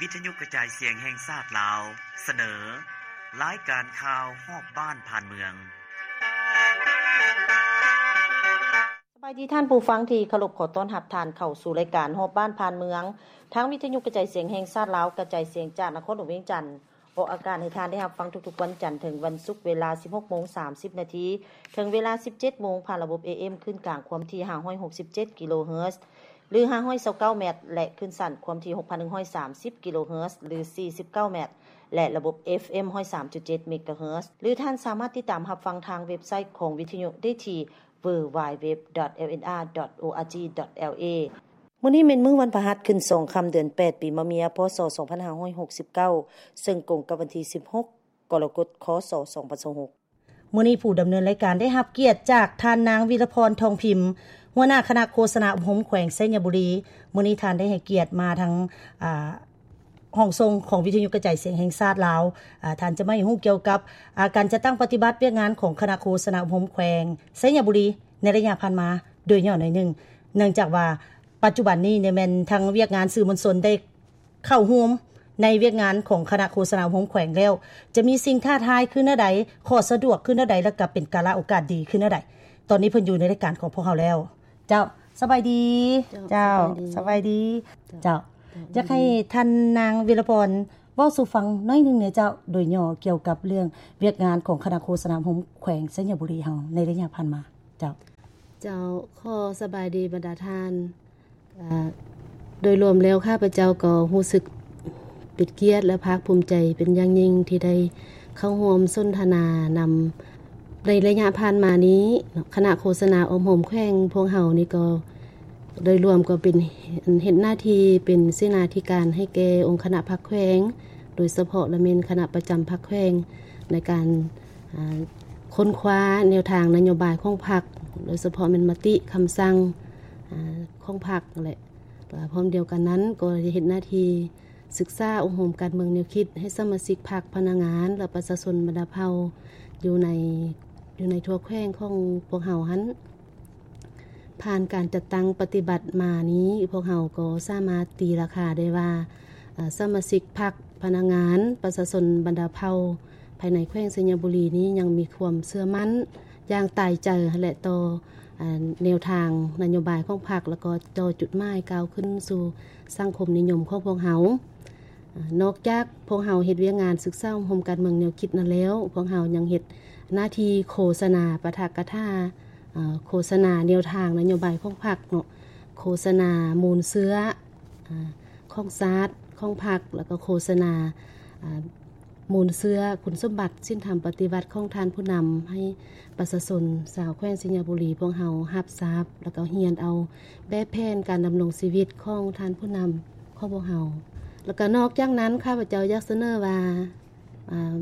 ວິທະຍຸກະຈາຍສຽງແຫ່ງຊາດລາວ ສະເໜີ ລາຍການຂ່າວຮອບບ້ານຜ່ານເມືອງ. ສະບາຍດີທ່ານຜູ້ຟັງທີ່ເຄົາລົບ, ຂໍຕ້ອນຮັບທ່ານເຂົ້າສູ່ລາຍການຮອບບ້ານຜ່ານເມືອງ ທາງວິທະຍຸກະຈາຍສຽງແຫ່ງຊາດລາວ ກະຈາຍສຽງຈາກນະຄອນຫຼວງວຽງຈັນ ອອກອາກາດໃຫ້ທ່ານໄດ້ຮັບຟັງທຸກໆວັນຈັນເຖິງວັນສຸກ ເວລາສິບຫົກໂມງສາມສິບນາທີ ເຖິງເວລາສິບເຈັດໂມງ ຜ່ານລະບົບ ເອເອັມ ຄື້ນກາງຄວາມຖີ່ຫ້າຮ້ອຍຫົກສິບເຈັດກິໂລເຮີດ ຫຼື ຫ້າຮ້ອຍຊາວເກົ້າແມັດ ແລະ ຄື້ນສັ້ນຄວາມຖີ່ຫົກພັນໜຶ່ງຮ້ອຍສາມສິບກິໂລເຮີດ ຫຼື ສີ່ສິບເກົ້າແມັດ ແລະ ລະບົບ ເອຟເອັມ ຮ້ອຍສາມຈຸດເຈັດເມກາເຮີດ ຫຼື ທ່ານສາມາດຕິດຕາມຮັບຟັງທາງເວັບໄຊຂອງວິທະຍຸໄດ້ທີ່ ดัບເບິນຢູດັບເບິນຢູດັບເບິນຢູດັບເບິນຢູ ດອດ ໂອອາຈີ ດອດ ແອລເອ. ມື້ນີ້ແມ່ນມື້ວັນພະຫັດ ຂຶ້ນສອງຄ່ຳ ເດືອນແປດ ປີມະເມຍ ພ.ສ. ສອງພັນຫ້າຮ້ອຍຫົກສິບເກົ້າ ເຊິ່ງກົງກັບວັນທີສິບຫົກ ກໍລະກົດ ຄ.ສ. ສອງພັນຊາວຫົກ. ມື້ນີ້ຜູ້ດຳເນີນລາຍການໄດ້ຮັບກຽດຈາກທ່ານນາງ ວິລະພອນ ທອງພິມ ຫົວໜ້າຄະນະໂຄສະນາອົບຮົມແຂວງໄຊຍະບູລີ. ມື້ນີ້ທ່ານໄດ້ໃຫ້ກຽດມາທາງ ອ່າ ຫ້ອງສົ່ງຂອງວິທະຍຸກະຈາຍສຽງແຫ່ງຊາດລາວ. ອາ ທ່ານຈະມາໃຫ້ຮູ້ກ່ຽວກັບ ອາ ການຈັດຕັ້ງປະຕິບັດວຽກງານຂອງຄະນະໂຄສະນາອົບຮົມແຂວງໄຊຍະບູລີໃນໄລຍະຜ່ານມາໂດຍຫຍໍ້ໜ້ອຍໜຶ່ງ, ເນື່ອງຈາກວ່າປັດຈຸບັນນີ້ນີ້ແມ່ນທາງວຽກງານສື່ມວນຊົນໄດ້ເຂົ້າຮ່ວມໃນວຽກງານຂອງຄະນະໂຄສະນາອົບຮົມແຂວງແລ້ວ ຈະມີສິ່ງທ້າທາຍຄືແນວໃດ, ຂໍ້ສະດວກຄືແນວໃດ ແລະ ກໍເປັນກາລະໂອກາດດີຄືແນວໃດ. ຕອນນີ້ເພິ່ນຢູ່ໃນລາຍການຂອງພວກເຮົາແລ້ວ. ເຈົ້າ ສະບາຍດີ. ເຈົ້າ ເຈົ້າ ສະບາຍດີ. ສະບາຍດີ. ເຈົ້າ ເຈົ້າ ຢາກໃຫ້ທ່ານນາງ ວິລະພອນ ເວົ້າສູ່ຟັງໜ້ອຍໜຶ່ງແດ່ເຈົ້າ ໂດຍຫຍໍ້ກ່ຽວກັບເລື່ອງວຽກງານຂອງຄະນະໂຄສະນາອົບຮົມແຂວງໄຊຍະບູລີເຮົາໃນໄລຍະຜ່ານມາ. ເຈົ້າ ເຈົ້າ ຂໍສະບາຍດີບັນດາທ່ານ. ອາ ໂດຍລວມແລ້ວ ຂ້າພະເຈົ້າກໍຮູ້ສຶກເປັນກຽດ ແລະ ພາກພູມໃຈເປັນຢ່າງຍິ່ງທີ່ໄດ້ເຂົ້າຮ່ວມສົນທະນານຳ ໃນໄລຍະຜ່ານມານີ້ເນາະ. ຄະນະໂຄສະນາອົບຮົມແຂວງພວກເຮົານີ້ກໍ ໂດຍລວມກໍເປັນ ເຮັດໜ້າທີ່ເປັນເສນາທິການໃຫ້ແກ່ອົງຄະນະພັກແຂວງ ໂດຍສະເພາະລະແມ່ນຄະນະປະຈຳພັກແຂວງ ໃນການ ອາ ຄົ້ນຄວ້າແນວທາງນະໂຍບາຍຂອງພັກ ໂດຍສະເພາະແມ່ນມະຕິ, ຄຳສັ່ງ ອາ ຂອງພັກ ແລະ ພ້ອມດຽວກັນນັ້ນກໍໄດ້ເຮັດໜ້າທີ່ສຶກສາອົບຮົມການເມືອງແນວຄິດໃຫ້ສະມາຊິກພັກ, ພະນັກງານ ແລະ ປະຊາຊົນບັນດາເຜົ່າຢູ່ໃນ ຢູ່ໃນທົ່ວແຂວງຂອງພວກເຮົາຫັ້ນ. ຜ່ານການຈັດຕັ້ງປະຕິບັດມານີ້ ພວກເຮົາກໍສາມາດຕີລາຄາໄດ້ວ່າ ອາ ສະມາຊິກພັກ, ພະນັກງານ, ປະຊາຊົນບັນດາເຜົ່າ ພາຍໃນແຂວງໄຊຍະບູລີນີ້ຍັງມີຄວາມເຊື່ອໝັ້ນຢ່າງຕາຍໃຈ ແລະ ຕໍ່ ອາ ແນວທາງນະໂຍບາຍຂອງພັກ ແລ້ວກໍຕໍ່ຈຸດໝາຍກ້າວຂຶ້ນສູ່ສັງຄົມນິຍົມຂອງພວກເຮົາ. ອາ ນອກຈາກພວກເຮົາເຮັດວຽກງານສຶກສາອົບຮົມການເມືອງແນວຄິດນັ້ນແລ້ວ, ພວກເຮົາຍັງເຮັດໜ້າທີ່ໂຄສະນາປາຖະກະຖາ, ອາ ໂຄສະນາແນວທາງນະໂຍບາຍຂອງພັກເນາະ, ໂຄສະນາມູນເຊື້ອ ອາ ຂອງຊາດ ຂອງພັກ ແລ້ວກໍໂຄສະນາ ອາ ມູນເຊື້ອຄຸນສົມບັດສິນທຳປະຕິວັດຂອງທ່ານຜູ້ນຳ ໃຫ້ປະຊາຊົນຊາວແຂວງໄຊຍະບູລີພວກເຮົາຮັບຊາບ ແລ້ວກໍຮຽນເອົາແບບແຜນການດຳລົງຊີວິດຂອງທ່ານຜູ້ນຳຂອງພວກເຮົາ. ແລ້ວກໍນອກຈາກນັ້ນ ຂ້າພະເຈົ້າຢາກສະເໜີວ່າ ອາ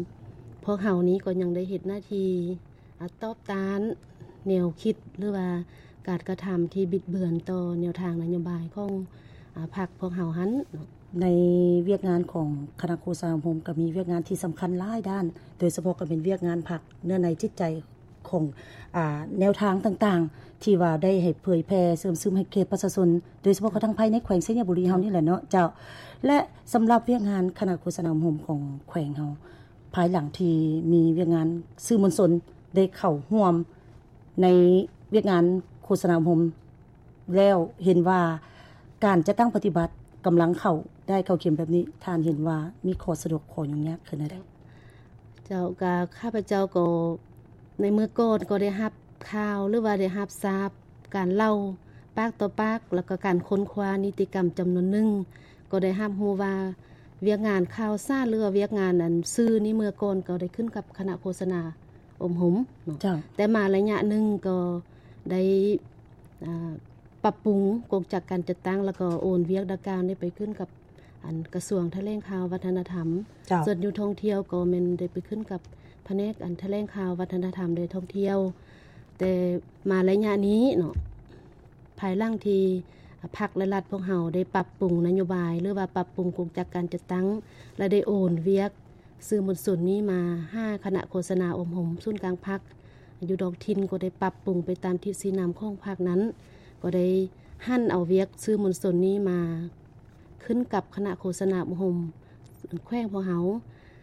ພວກເຮົານີ້ກໍຍັງໄດ້ເຮັດໜ້າທີ່ ອາ ຕອບຕ້ານແນວຄິດ ຫຼືວ່າການກະທຳທີ່ບິດເບືອນຕໍ່ແນວທາງນະໂຍບາຍຂອງ ອາ ພັກພວກເຮົາຫັ້ນເນາະ. ໃນວຽກງານຂອງຄະນະໂຄສະນາອົບຮົມກໍມີວຽກງານທີ່ສຳຄັນຫຼາຍດ້ານ, ໂດຍສະເພາະກໍເປັນວຽກງານພັກ ເນື້ອໃນຈິດໃຈຂອງ ອາ ແນວທາງຕ່າງໆ ທີ່ວ່າໄດ້ໃຫ້ເຜີຍແຜ່ເຊື່ອມຊຶມໃຫ້ແກ່ປະຊາຊົນ ໂດຍສະເພາະກໍທັງພາຍໃນແຂວງໄຊຍະບູລີເຮົານີ້ແຫຼະເນາະ ເຈົ້າ. ແລະ ສຳລັບວຽກງານຄະນະໂຄສະນາອົບຮົມຂອງແຂວງເຮົາ ພາຍຫຼັງທີ່ມີວຽກງານສື່ມວນຊົນໄດ້ເຂົ້າຮ່ວມໃນວຽກງານໂຄສະນາອົບຮົມແລ້ວ ເຫັນວ່າການຈັດຕັ້ງປະຕິບັດກຳລັງເຂົ້າໄດ້ເຂົ້າເຂັມແບບນີ້, ທ່ານເຫັນວ່າມີຂໍ້ສະດວກຂໍ້ຫຍຸ້ງຍາກຄືແນວໃດ? ເຈົ້າ, ກະຂ້າພະເຈົ້າກໍໃນເມື່ອກ່ອນກໍໄດ້ຮັບຂ່າວ ຫຼືວ່າໄດ້ຮັບຊາບການເລົ່າປາກຕໍ່ປາກ ແລ້ວກໍການຄົ້ນຄວ້ານິຕິກຳຈຳນວນໜຶ່ງ ກໍໄດ້ຮັບຮູ້ວ່າວຽກງານຂ່າວສານ ຫຼືວ່າວຽກງານອັນສື່ນີ້ ເມື່ອກ່ອນກໍໄດ້ຂຶ້ນກັບຄະນະໂຄສະນາອົບຮົມເນາະ. ເຈົ້າ. ແຕ່ມາໄລຍະໜຶ່ງກໍໄດ້ ອາ ປັບປຸງກົງຈັກການຈັດຕັ້ງ ແລ້ວກໍໂອນວຽກດັ່ງກ່າວນີ້ໄປຂຶ້ນກັບອັນກະຊວງຖະແຫຼງຂ່າວວັດທະນະທຳ. ເຈົ້າ. ສ່ວນຢູ່ທ່ອງທ່ຽວກໍແມ່ນໄດ້ໄປຂຶ້ນກັບພະແນກອັນຖະແຫຼງຂ່າວວັດທະນະທຳ ແລະ ທ່ອງທ່ຽວ. ແຕ່ມາໄລຍະນີ້ເນາະ ພາຍຫຼັງທີ່ພັກ ແລະ ລັດພວກເຮົາໄດ້ປັບປຸງນະໂຍບາຍ ຫຼືວ່າປັບປຸງກົງຈັກການຈັດຕັ້ງ ແລະ ໄດ້ໂອນວຽກສື່ມວນຊົນນີ້ມາຫາຄະນະໂຄສະນາອົບຮົມສູນກາງພັກ ຢູ່ທ້ອງຖິ່ນ ກໍໄດ້ປັບປຸງໄປຕາມທິດຊີ້ນຳຂອງພັກນັ້ນ, ກໍໄດ້ຫັນເອົາວຽກສື່ມວນຊົນນີ້ມາ ຄື ຂຶ້ນກັບຄະນະໂຄສະນາອົບຮົມແຂວງພວກເຮົາ.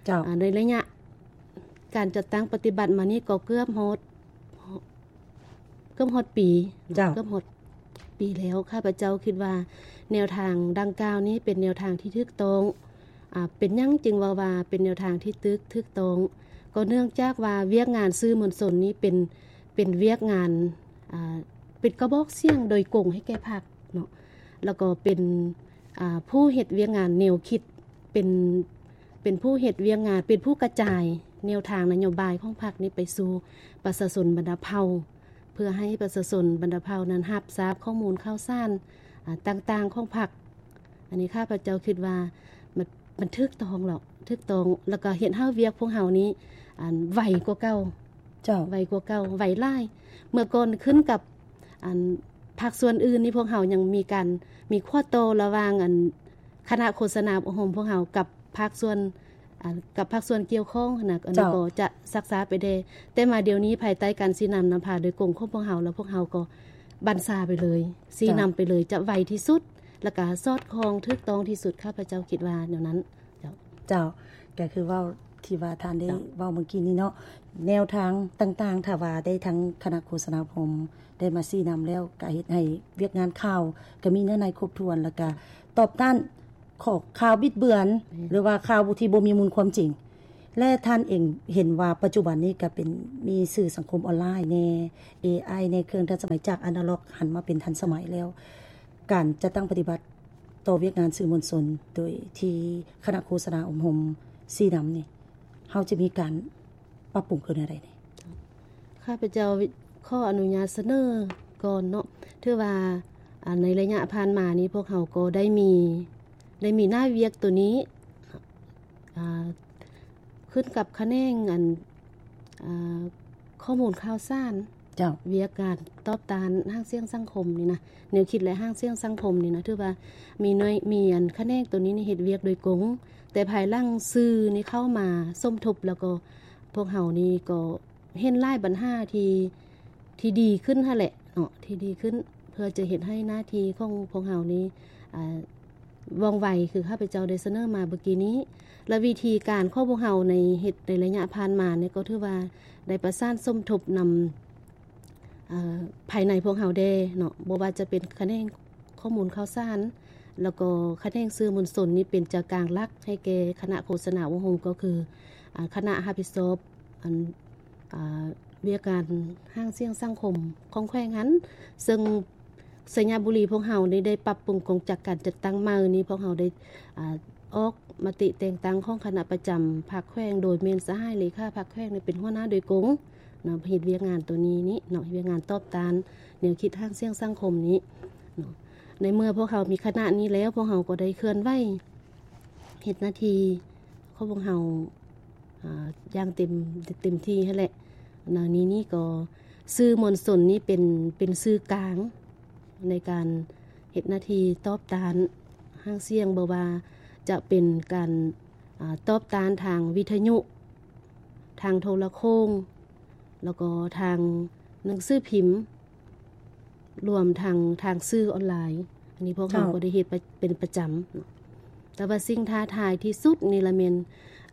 ເຈົ້າ. ອາ ໃນໄລຍະການຈັດຕັ້ງປະຕິບັດມານີ້ກໍເກືອບຮອດ ເກືອບຮອດປີ. ເຈົ້າ. ເກືອບຮອດປີແລ້ວ. ຂ້າພະເຈົ້າຄິດວ່າແນວທາງດັ່ງກ່າວນີ້ເປັນແນວທາງທີ່ຖືກຕ້ອງ. ອາ ເປັນຫຍັງຈຶ່ງເວົ້າວ່າເປັນແນວທາງທີ່ຖືກ ຖືກຕ້ອງ? ກໍເນື່ອງຈາກວ່າວຽກງານສື່ມວນຊົນນີ້ເປັນ ເປັນວຽກງານ ອາ ເປັນກະບອກສຽງໂດຍກົງໃຫ້ແກ່ພັກເນາະ ແລ້ວກໍເປັນ ອາ ຜູ້ເຮັດວຽກງານແນວຄິດ ເປັນ ເປັນຜູ້ເຮັດວຽກງານ ເປັນຜູ້ກະຈາຍແນວທາງນະໂຍບາຍຂອງພັກນີ້ໄປສູ່ປະຊາຊົນບັນດາເຜົ່າ ເພື່ອໃຫ້ປະຊາຊົນບັນດາເຜົ່ານັ້ນຮັບຊາບຂໍ້ມູນຂ່າວສານ ອາ ຕ່າງໆຂອງພັກ. ອັນນີ້ຂ້າພະເຈົ້າຄິດວ່າມັນ ມັນຖືກຕ້ອງແລ້ວ ຖືກຕ້ອງ ແລ້ວກໍເຮັດໃຫ້ວຽກພວກເຮົານີ້ ອັນ ໄວກວ່າເກົ່າ. ເຈົ້າ. ໄວກວ່າເກົ່າ ໄວຫຼາຍ. ເມື່ອກ່ອນຂຶ້ນກັບ ອັນ ພາກສ່ວນອື່ນນີ້ ພວກເຮົາຍັງມີການ ມີຂໍ້ຕໍ່ລະຫວ່າງ ອັນ ຄະນະໂຄສະນາອົບຮົມພວກເຮົາກັບພາກສ່ວນ ອັນ ກັບພາກສ່ວນກ່ຽວຂ້ອງຫັ້ນນະ ອັນນີ້ ເຈົ້າ ກໍຈະຊັກຊ້າໄປແດ່. ແຕ່ມາດຽວນີ້ ພາຍໃຕ້ການຊີ້ນຳນຳພາໂດຍກົງຂອງພວກເຮົາ ແລ້ວພວກເຮົາກໍບັນຊາໄປເລີຍ ຊີ້ນຳ ເຈົ້າ ໄປເລີຍ ຈະໄວທີ່ສຸດ ແລ້ວກະສອດຄ່ອງຖືກຕ້ອງທີ່ສຸດ. ຂ້າພະເຈົ້າຄິດວ່າແນວນັ້ນ. ເຈົ້າ. ເຈົ້າ. ກໍຄືເວົ້າທີ່ວ່າທ່ານໄດ້ ເຈົ້າ ເວົ້າເມື່ອກີ້ນີ້ເນາະ ແນວທາງຕ່າງໆ ຖ້າວ່າໄດ້ທາງຄະນະໂຄສະນາອົບຮົມໄດ້ມາຊີ້ນຳແລ້ວ ກໍເຮັດໃຫ້ວຽກງານຂ່າວກໍມີເນື້ອໃນຄົບຖ້ວນ ແລ້ວກໍຕອບຕ້ານຂໍ້ຂ່າວບິດເບືອນ ແມ່ນ ຫຼືວ່າຂ່າວທີ່ບໍ່ມີມູນຄວາມຈິງ. ແລະ ທ່ານເອງເຫັນວ່າປັດຈຸບັນນີ້ກໍເປັນ ມີສື່ສັງຄົມອອນລາຍແດ່ ເອໄອແດ່ ເຄື່ອງທັນສະໄໝ ຈາກອານາລັອກຫັນມາເປັນທັນສະໄໝແລ້ວ ການຈັດຕັ້ງປະຕິບັດຕໍ່ວຽກງານສື່ມວນຊົນ ໂດຍທີ່ຄະນະໂຄສະນາອົບຮົມຊີ້ນຳນີ້ ເຮົາຈະມີການປັບປຸງຄືແນວໃດນີ້? ຂ້າພະເຈົ້າຂໍອະນຸຍາດສະເໜີກ່ອນເນາະ ຖືວ່າ ອາ ໃນໄລຍະຜ່ານມານີ້ ພວກເຮົາກໍໄດ້ມີ ໄດ້ມີໜ້າວຽກໂຕນີ້ ອາ ຂຶ້ນກັບຂະແໜງ ອັນ ອາ ຂໍ້ມູນຂ່າວສານ ເຈົ້າ ວຽກງານຕອບຕ້ານຫາງສຽງສັງຄົມນີ້ນະ ແນວຄິດ ແລະ ຫາງສຽງສັງຄົມນີ້ນະ ຖືວ່າມີໜ່ວຍ ມີ ອັນ ຂະແໜງໂຕນີ້ນີ້ເຮັດວຽກໂດຍກົງ ແຕ່ພາຍຫຼັງສື່ນີ້ເຂົ້າມາສົມທົບ ແລ້ວກໍພວກເຮົານີ້ກໍເຫັນຫຼາຍບັນຫາທີ່ ທີ່ດີຂຶ້ນຫັ້ນແຫຼະເນາະ ທີ່ດີຂຶ້ນ ເພື່ອຈະເຮັດໃຫ້ໜ້າທີ່ຂອງພວກເຮົານີ້ ອາ ວ່ອງໄວ ຄືຂ້າພະເຈົ້າໄດ້ສະເໜີມາເມື່ອກີ້ນີ້ ແລະ ວິທີການຂອງພວກເຮົາໃນເຮັດໃນໄລຍະຜ່ານມານີ້ ກໍຖືວ່າໄດ້ປະສານສົມທົບນຳ ເອີ ພາຍໃນພວກເຮົາແດ່ເນາະ ບໍ່ວ່າຈະເປັນຂະແໜງຂໍ້ມູນຂ່າວສານ ແລ້ວກໍຂະແໜງສື່ມວນຊົນນີ້ເປັນໃຈກາງຫຼັກໃຫ້ແກ່ຄະນະໂຄສະນາອົບຮົມ ກໍຄື ອາ ຄະນະຮັບຜິດຊອບ ອັນ ອາ ວຽກງານຫາງສຽງສັງຄົມຂອງແຂວງຫັ້ນ ເຊິ່ງໄຊຍະບູລີພວກເຮົານີ້ໄດ້ປັບປຸງກົງຈັກການຈັດຕັ້ງໃໝ່ນີ້ ພວກເຮົາໄດ້ ອາ ອອກມະຕິແຕ່ງຕັ້ງຂອງຄະນະປະຈຳພັກແຂວງ ໂດຍແມ່ນສະຫາຍເລຂາພັກແຂວງນີ້ເປັນຫົວໜ້າໂດຍກົງເນາະ ເຮັດວຽກງານໂຕນີ້ນີ້ເນາະ ເຮັດວຽກງານຕອບຕ້ານແນວຄິດຫາງສຽງສັງຄົມນີ້ເນາະ. ໃນເມື່ອພວກເຮົາມີຄະນະນີ້ແລ້ວ ພວກເຮົາກໍໄດ້ເຄື່ອນໄຫວເຮັດໜ້າທີ່ຂອງພວກເຮົາ ອາ ຢ່າງເຕັມ ເຕັມທີ່ຫັ້ນແຫຼະ. ໃນນີ້ນີ້ກໍສື່ມວນຊົນນີ້ເປັນ ເປັນສື່ກາງໃນການເຮັດໜ້າທີ່ຕອບຕ້ານຫາງສຽງ ບໍ່ວ່າຈະເປັນການ ອາ ຕອບຕ້ານທາງວິທະຍຸ, ທາງໂທລະໂຄ່ງ ແລ້ວກໍທາງໜັງສືພິມ ລວມທັງທາງສື່ອອນລາຍ. ອັນນີ້ພວກເຮົາ ເຈົ້າ ກໍໄດ້ເຮັດປະ ເປັນປະຈຳ. ແຕ່ວ່າສິ່ງທ້າທາຍທີ່ສຸດນີ້ລະແມ່ນ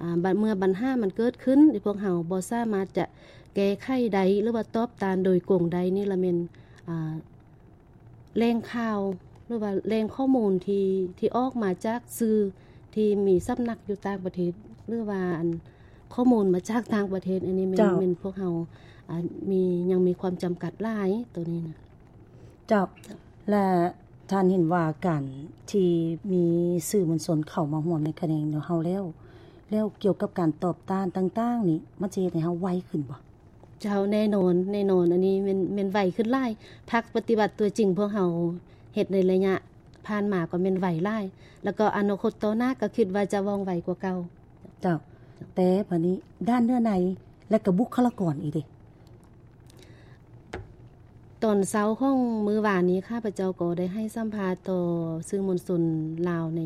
ອາ ບັດ ເມື່ອບັນຫາມັນເກີດຂຶ້ນ ທີ່ພວກເຮົາບໍ່ສາມາດຈະແກ້ໄຂໄດ້ ຫຼືວ່າຕອບຕ້ານໂດຍກົງໄດ້ນີ້ລະແມ່ນ ອາ ແຫຼ່ງຂ່າວ ຫຼືວ່າແຫຼ່ງຂໍ້ມູນທີ່ ທີ່ອອກມາຈາກສື່ທີ່ມີສຳນັກຢູ່ຕ່າງປະເທດ ຫຼືວ່າ ອັນ ຂໍ້ມູນມາຈາກຕ່າງປະເທດ ອັນນີ້ແມ່ນ ເຈົ້າ ແມ່ນພວກເຮົາ ອາ ມີ ຍັງມີຄວາມຈຳກັດຫຼາຍໂຕນີ້ນະ. ເຈົ້າ ແລະ ທ່ານເຫັນວ່າການທີ່ມີສື່ມວນຊົນເຂົ້າມາຮ່ວມໃນຂະແໜງຂອງເຮົາແລ້ວ ແລ້ວກ່ຽວກັບການຕອບຕ້ານຕ່າງໆນີ້ ມັນຈະເຮັດໃຫ້ເຮົາໄວຂຶ້ນບໍ່? ເຈົ້າ ແນ່ນອນ ແນ່ນອນ ອັນນີ້ແມ່ນ ແມ່ນໄວຂຶ້ນຫຼາຍ. ພັກປະຕິວັດຕົວຈິງພວກເຮົາເຮັດໃນໄລຍະຜ່ານມາກໍແມ່ນໄວຫຼາຍ ແລ້ວກໍອະນາຄົດຕໍ່ໜ້າກໍຄິດວ່າຈະວ່ອງໄວກວ່າເກົ່າ. ເຈົ້າ ແຕ່ບາດນີ້ດ້ານເນື້ອໃນ ແລະ ກໍບຸກຄະລາກອນອີກເດ? ຕອນເຊົ້າຂອງມື້ວານນີ້ ຂ້າພະເຈົ້າກໍໄດ້ໃຫ້ສຳພາດຕໍ່ສື່ມວນຊົນລາວໃນ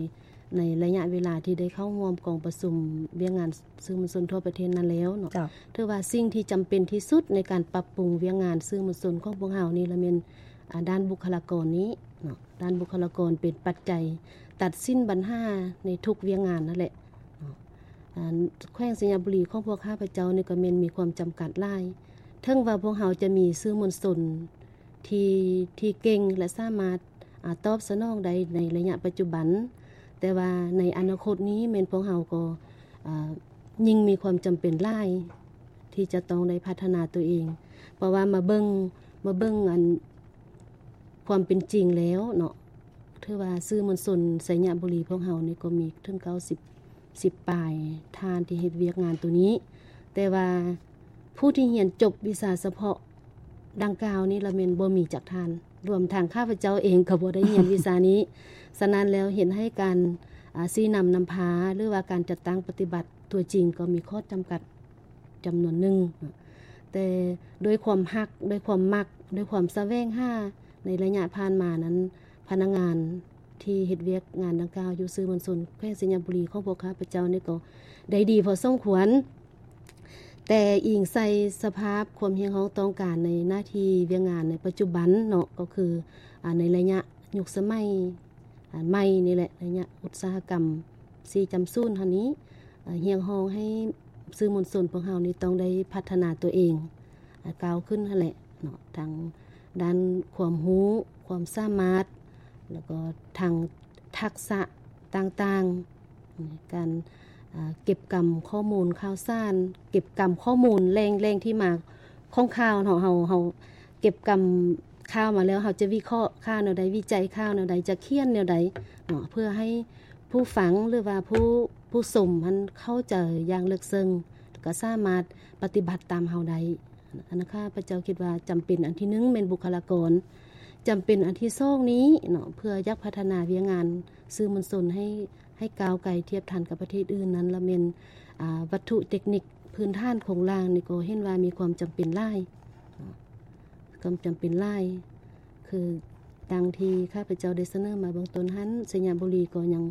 ໃນໄລຍະເວລາທີ່ໄດ້ເຂົ້າຮ່ວມກອງປະຊຸມວຽກງານສື່ມວນຊົນທົ່ວປະເທດນັ້ນແລ້ວເນາະ. ເຈົ້າ. ຖືວ່າສິ່ງທີ່ຈຳເປັນທີ່ສຸດໃນການປັບປຸງວຽກງານສື່ມວນຊົນຂອງພວກເຮົານີ້ລະແມ່ນ ອາ ດ້ານບຸກຄະລາກອນນີ້ເນາະ. ດ້ານບຸກຄະລາກອນເປັນປັດໄຈ ຕັດສິນບັນຫາໃນທຸກວຽກງານນັ້ນແຫຼະເນາະ. ອັນ ແຂວງໄຊຍະບູລີຂອງພວກຂ້າພະເຈົ້ານີ້ກໍແມ່ນມີຄວາມຈຳກັດຫຼາຍ. ເຖິງວ່າພວກເຮົາຈະມີສື່ມວນຊົນທີ່ ທີ່ເກັ່ງ ແລະ ສາມາດ ອາ ຕອບສະໜອງໄດ້ໃນໄລຍະປັດຈຸບັນ, ແຕ່ວ່າໃນອະນາຄົດນີ້ແມ່ນພວກເຮົາກໍ ອາ ຍິ່ງມີຄວາມຈຳເປັນຫຼາຍທີ່ຈະຕ້ອງໄດ້ພັດທະນາຕົວເອງ. ເພາະວ່າມາເບິ່ງ ມາເບິ່ງອັນ ຄວາມເປັນຈິງແລ້ວເນາະ, ຖືວ່າສື່ມວນຊົນໄຊຍະບູລີພວກເຮົານີ້ກໍມີເຖິງເກົ້າສິບ ສິບປາຍທ່ານທີ່ເຮັດວຽກງານໂຕນີ້, ແຕ່ວ່າຜູ້ທີ່ຮຽນຈົບວິຊາສະເພາະດັ່ງກ່າວນີ້ລະແມ່ນບໍ່ມີຈັກທ່ານ, ລວມທັງຂ້າພະເຈົ້າເອງກໍບໍ່ໄດ້ຮຽນວິຊານີ້. ສະນັ້ນແລ້ວເຮັດໃຫ້ການ ອາ ຊີ້ນຳນຳພາ ຫຼືວ່າການຈັດຕັ້ງປະຕິບັດຕົວຈິງກໍມີຂໍ້ຈຳກັດ ຈຳນວນໜຶ່ງ, ແຕ່ດ້ວຍຄວາມຮັກ ດ້ວຍຄວາມມັກ ດ້ວຍຄວາມສະແຫວງຫາໃນໄລຍະຜ່ານມານັ້ນ, ພະນັກງານທີ່ເຮັດວຽກງານດັ່ງກ່າວຢູ່ສື່ມວນຊົນແຂວງໄຊຍະບູລີຂອງພວກຂ້າພະເຈົ້ານີ້ກໍໄດ້ດີພໍສົມຄວນ, ແຕ່ອີງໃສ່ສະພາບຄວາມຮຽກຮ້ອງຕ້ອງການໃນໜ້າທີ່ວຽກງານໃນປັດຈຸບັນເນາະ, ກໍຄື ອາ ໃນໄລຍະຍຸກສະໄໝ ອາ ໃໝ່ນີ້ແຫຼະ, ໄລຍະອຸດສາຫະກຳສີ່ຈຸດສູນຫັ້ນນີ້ ອາ ຮຽກຮ້ອງໃຫ້ສື່ມວນຊົນພວກເຮົານີ້ຕ້ອງໄດ້ພັດທະນາຕົວເອງ ອາ ກ້າວຂຶ້ນຫັ້ນແຫຼະເນາະ, ທັງດ້ານຄວາມຮູ້ ຄວາມສາມາດ ແລ້ວກໍທັງທັກສະຕ່າງໆ, ການ ອາ ເກັບກຳຂໍ້ມູນຂ່າວສານ, ເກັບກຳຂໍ້ມູນແຫຼ່ງ ແຫຼ່ງທີ່ມາຂອງຂ່າວເນາະ, ເຮົາ ເຮົາ ເກັບກຳຂ່າວມາແລ້ວ ເຮົາຈະວິເຄາະຂ່າວແນວໃດ, ວິໄຈຂ່າວແນວໃດ, ຈະຂຽນແນວໃດເນາະ, ເພື່ອໃຫ້ຜູ້ຟັງ ຫຼືວ່າຜູ້ ຜູ້ຊົມຫັ້ນເຂົ້າໃຈຢ່າງເລິກເຊິ່ງ ແລະ ກໍສາມາດປະຕິບັດຕາມເຮົາໄດ້. ອັນນັ້ນ ຂ້າພະເຈົ້າຄິດວ່າຈຳເປັນອັນທີໜຶ່ງແມ່ນບຸກຄະລາກອນ, ຈຳເປັນອັນທີສອງນີ້ເນາະ, ເພື່ອຢາກພັດທະນາວຽກງານສື່ມວນຊົນໃຫ້ ໃຫ້ກ້າວໄກທຽບທັນກັບປະເທດອື່ນນັ້ນລະແມ່ນ ອາ ວັດຖຸເຕັກນິກພື້ນຖານໂຄງລ່າງນີ້ກໍເຫັນວ່າມີຄວາມຈຳເປັນຫຼາຍ, ຄວາມຈຳເປັນຫຼາຍ ຄືດັ່ງທີ່ຂ້າພະເຈົ້າໄດ້ສະເໜີມາເບື້ອງຕົ້ນຫັ້ນ, ໄຊຍະບູລີກໍຍັງ